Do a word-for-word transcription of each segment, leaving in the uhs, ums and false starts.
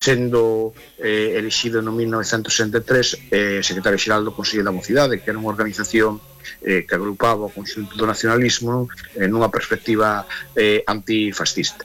sendo eh, elexido no mil novecentos sesenta e tres eh, secretario xeral do Consello da Mocidade, que era unha organización eh, que agrupaba o conxunto do nacionalismo eh, nunha perspectiva eh, antifascista.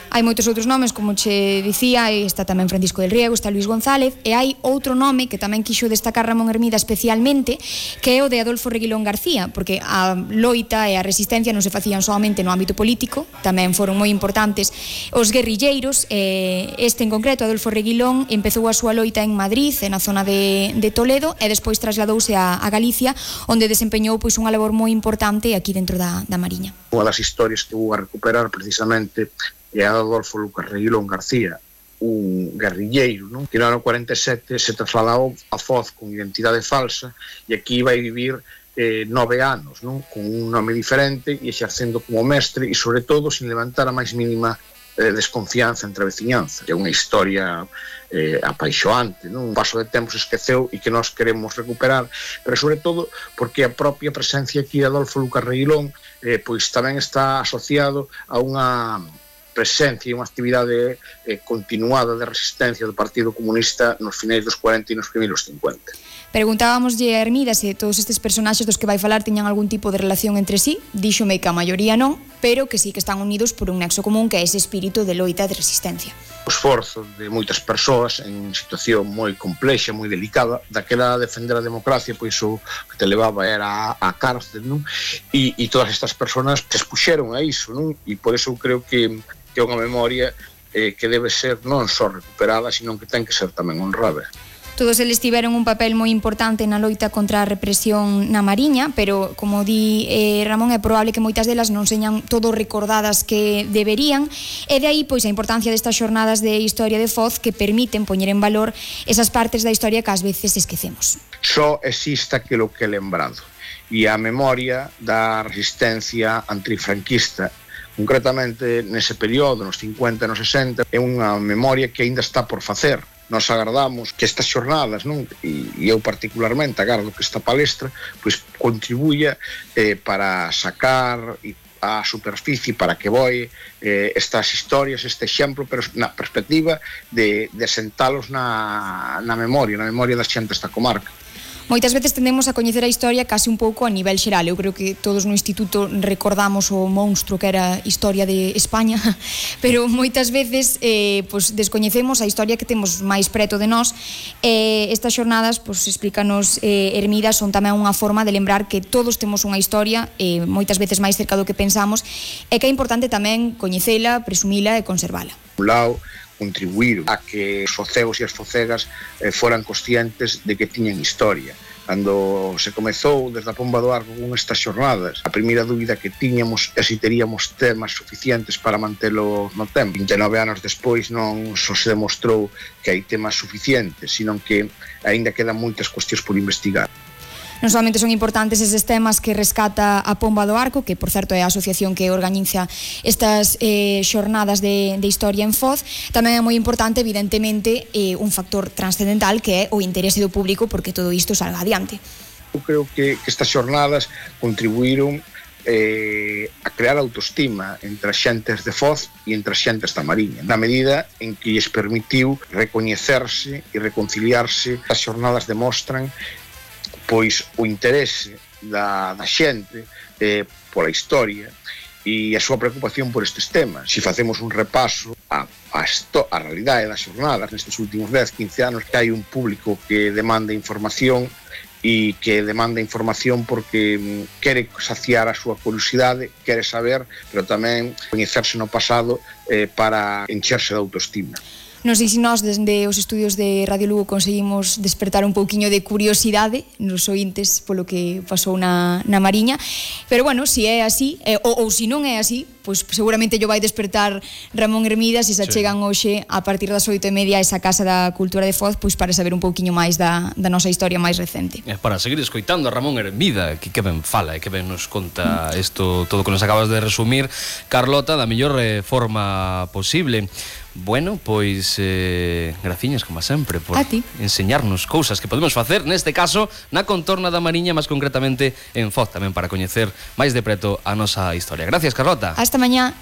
Hai moitos outros nomes, como che dicía, está tamén Francisco del Riego, está Luis González, e hai outro nome que tamén quixo destacar Ramón Hermida especialmente, que é o de Adolfo Reguilón García, porque a loita e a resistencia non se facían solamente no ámbito político, tamén foron moi importantes os guerrilleiros, e este en concreto, Adolfo Reguilón, empezou a súa loita en Madrid, na zona de, de Toledo, e despois trasladouse a, a Galicia, onde desempeñou pois unha labor moi importante aquí dentro da, da Mariña. Unha das historias que vou a recuperar precisamente é Adolfo Lucas Reguilón García, un guerrilleiro, non? Que no ano cuarenta e sete se trasladou a Foz con identidade falsa e aquí vai vivir eh, nove anos, non? Con un nome diferente e exercendo como mestre e, sobre todo, sin levantar a máis mínima eh, desconfianza entre a veciñanza. É unha historia eh, apaixoante, non? Un paso de tempo se esqueceu e que nós queremos recuperar, pero, sobre todo, porque a propia presencia aquí de Adolfo Lucas Reguilón eh, pois tamén está asociado a unha presencia e unha actividade eh, continuada de resistencia do Partido Comunista nos finais dos cuarenta e nos primeiros cincuenta. Preguntábamoslle a Hermida se todos estes personaxes dos que vai falar tiñan algún tipo de relación entre sí. Díxome que a maioría non, pero que sí que están unidos por un nexo común, que é ese espírito de loita de resistencia. O esforzo de moitas persoas en situación moi complexa, moi delicada, daquela defender a democracia, pois o que te levaba era a, a cárcel, non? E, e todas estas persoas se expuxeron a iso, non? E por eso eu creo que que é unha memoria eh, que debe ser non só recuperada, sino que ten que ser tamén honrada. Todos eles tiveron un papel moi importante na loita contra a represión na Mariña, pero, como di eh, Ramón, é probable que moitas delas non señan todo recordadas que deberían, e de aí pois a importancia destas xornadas de historia de Foz que permiten poñer en valor esas partes da historia que ás veces esquecemos. Só existe aquilo que é lembrado, e a memoria da resistencia antifranquista, concretamente nese período, nos cincuenta e nos sesenta, é unha memoria que aínda está por facer. Nos agardamos que estas xornadas, non? E eu particularmente agardo que esta palestra pois contribuya eh, para sacar a superficie, para que voe eh, estas historias, este exemplo, pero na perspectiva de, de sentalos na, na memoria, na memoria das xentes da comarca. Moitas veces tendemos a coñecer a historia case un pouco a nivel xeral. Eu creo que todos no instituto recordamos o monstro que era a historia de España, pero moitas veces eh, pues, descoñecemos a historia que temos máis preto de nós. Eh, estas xornadas, pues, explícanos eh, Hermida, son tamén unha forma de lembrar que todos temos unha historia, eh, moitas veces máis cerca do que pensamos, e que é importante tamén coñecela, presumila e conservala. Un lado, contribuir a que os focegos e as focegas eh, foran conscientes de que tiñan historia. Cando se comezou desde a Pomba do Arco con estas xornadas, a primeira dúbida que tiñamos é se teríamos temas suficientes para mantelo no tempo. vinte e nove anos despois non só se demostrou que hai temas suficientes, sino que aínda quedan moitas cuestións por investigar. Non solamente son importantes eses temas que rescata a Pomba do Arco, que, por certo, é a asociación que organiza estas eh, xornadas de, de historia en Foz, tamén é moi importante, evidentemente, eh, un factor transcendental que é o interese do público porque todo isto salga adiante. Eu creo que, que estas xornadas contribuíron eh, a crear autoestima entre as xentes de Foz e entre as xentes da Mariña, na medida en que lles permitiu recoñecerse e reconciliarse. As xornadas demostran pois o interese da, da xente eh, pola historia e a súa preocupación por estes temas. Se facemos un repaso a, a, esto, a realidade das xornadas nestes últimos dez, quince anos, que hai un público que demanda información e que demanda información porque mm, quere saciar a súa curiosidade, quere saber, pero tamén coñecerse no pasado eh, para encherse de autoestima. Non sei se nós, desde os estudios de Radio Lugo, conseguimos despertar un pouquiño de curiosidade nos ointes polo que pasou na, na Mariña, pero bueno, se é así, eh, ou, ou se non é así, pois seguramente yo vai despertar Ramón Hermida se se achegan hoxe a partir das oito e media a esa Casa da Cultura de Foz, pois para saber un pouquiño máis da, da nosa historia máis recente. É para seguir escoitando a Ramón Hermida, que que ben fala e que ben nos conta isto, todo o que nos acabas de resumir, Carlota, da mellor eh, forma posible. Bueno, pois eh, graciñas, como sempre, por enseñarnos cousas que podemos facer, neste caso, na contorna da Mariña, máis concretamente en Foz, tamén para coñecer máis de preto a nosa historia. Gracias, Carlota. Hasta mañá.